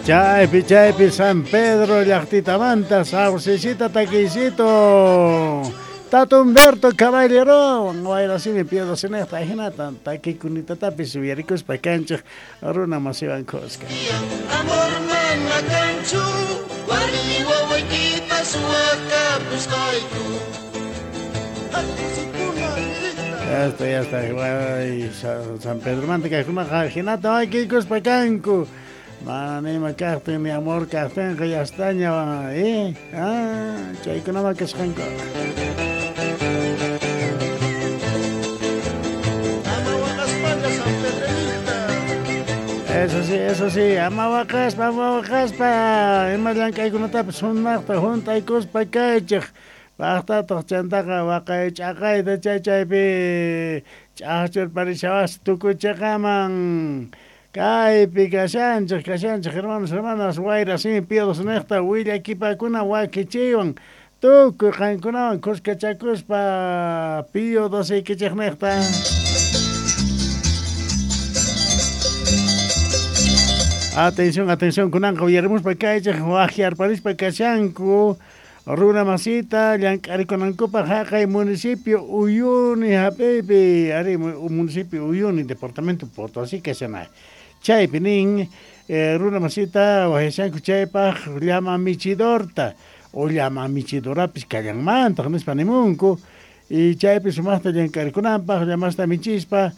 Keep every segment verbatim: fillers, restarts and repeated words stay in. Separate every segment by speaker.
Speaker 1: Chaypi chaypi San Pedro llaqtitamanta saucecita takiycito. Tato Humberto Caballero, wayrasimi Pío doce niqta ajinata takiykunatatapis uyarikuspa kanchik runa masiwan kuska.
Speaker 2: Amor mana kanchu, warmi wawaykita suwakapusqayku.
Speaker 1: Ya está, ya está. Ay, San Pedromanta kaykunaqa jinata wakiykuspa kanku. Mana nima kaqtin ni amor kaqtinqa ya estaña, eh? Ah, chaykunama kasqanku. Eso sí, eso sí, ama waqaspa, ama waqaspa, ima llank'aykunatapis sumaqta hunt'aykuspa kaychik. Paqtataq chantaqa waqay ch'aqayta chay chaypi ch'aqchurparishawasqa tukuchiqaman. Kaypi kashanchik, kashanchik, hermanos, hermanas, wayrasimi Pío doce niqta willakipakuna wakichiywan tukuy qankunawan kuskachakuspa Pío doce ikichik niqta. Atención, atención, kunanqa uyarimuspa kaychik waqyarparispa kashanku runa masita llank'arikunankupaq haqay municipio Uyuni hap'iypi, ari municipio Uyuni, departamento Potosí kashanay. Chaypi nin eh, runa masita waqyashanku chaypaq llama michidorta o llama michidorapis kallanmantaq nispa nimunku y chaypi sumaqta llank'arikunanpaq llamasta michispa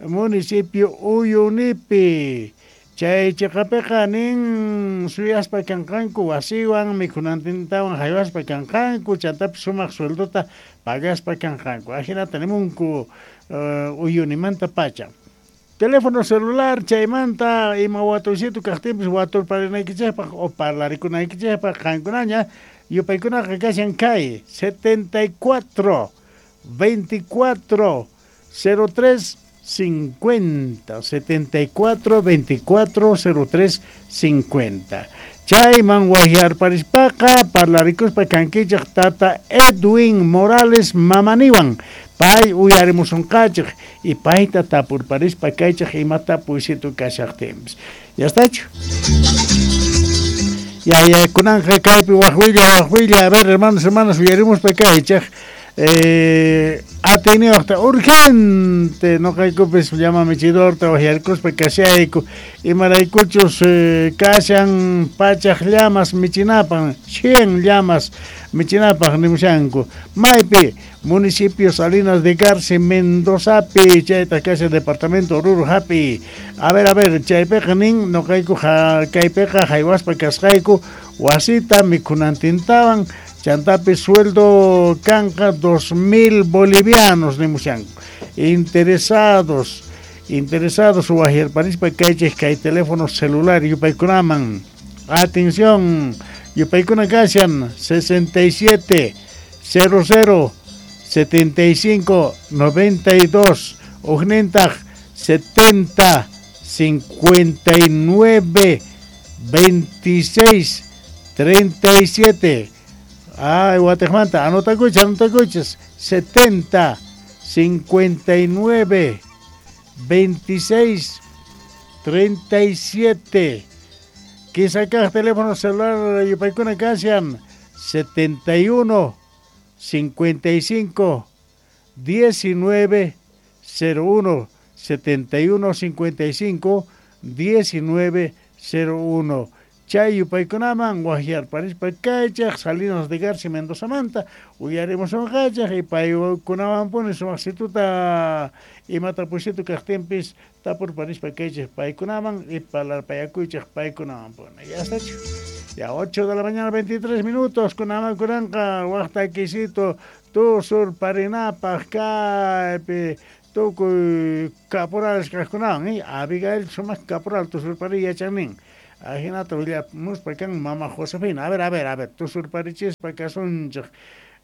Speaker 1: municipio Uyunipi. Chay chiqapiqa nin suyaspa kanqanku wasiwan mikhunantintawan haywaspa kanqanku chantapis sumaq sueldota pagaspa kanqanku. Ajinata nimunku uh, Uyunimanta pacha. Teléfono celular chaymanta ima watuysitu kaqtinpis waturparinaykichikpaq o parlarikunaykichikpaq qankunaña yupaykunaqa kashan kay setenta y cuatro, veinticuatro, cero tres, cincuenta, setenta y cuatro, veinticuatro, cero tres, cincuenta. Chayman waqyarparispaqa parlarikuspa kankichik tata Edwin Morales mamaniwan. Pay uyarimusunqachik y payta tapurparispa kaychik imata puysitu kashaqtinpis. Ya estachu? Ya, ya, kunanqa kaypi waqwilla, waqwilla, a ver, hermanos, hermanas, uyarimuspa kaychik. Eh, ateniwaqta urgente noqaykupis llama michidorta waqyarikuspa kashayku imaraykuchus eh, kashan pachaq llamas michinapaq cien llamas michinapaq nimushanku maypi municipio Salinas de Garci Mendozapi chayta kashan departamento Oruro hapi. A ver, a ver, chaypiqa nin noqayku kaypiqa haywaspa kasqayku wasita mikhunantintawan chantapi sueldo kanqa dos mil bolivianos nimushanku. Interesados, interesados waqyarparispa kaychik kay teléfono celular yupaykunaman. Atención, yupaykuna kashan sesenta y siete, cero cero, setenta y cinco, noventa y dos, ujnintaq setenta, cincuenta y nueve, veintiséis, treinta y siete. Ay, Guatemala, anotacuchas, anotacuchas, setenta, cincuenta y nueve, veintiséis, treinta y siete. Quizá teléfono celular yupaykuna kashan setenta y uno, cincuenta y cinco, diecinueve, cero uno, setenta y uno, cincuenta y cinco, diecinueve, cero uno. Chay yupaykunaman waqyarparispa kaychaq Salinas de Garci Mendoza manta uyarimusunqachaq y paykunawanpuni sumaqsituta imata pusitu kaqtinpis tapurparispa kaychaq paykunaman y parlarpayakuychaq paykunawanpuni. Ya estachu. Ya ocho de la mañana veintitrés minutos kunaman kunanqa waqtakisito tusurparinapaq kaypi tukuy caporales kaqkunawan, eh? Abigail sumaq caporal tusurpari yachannin. Ajinata willamuspa kan mama Josefina. A ver, a ver, a ver, tusurparichispa kasunchik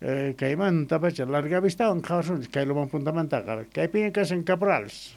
Speaker 1: eh, kaymanta pacha larga vistawan qhawasunchik kay Loman puntamantaqa. Kaypiña kashan caporales.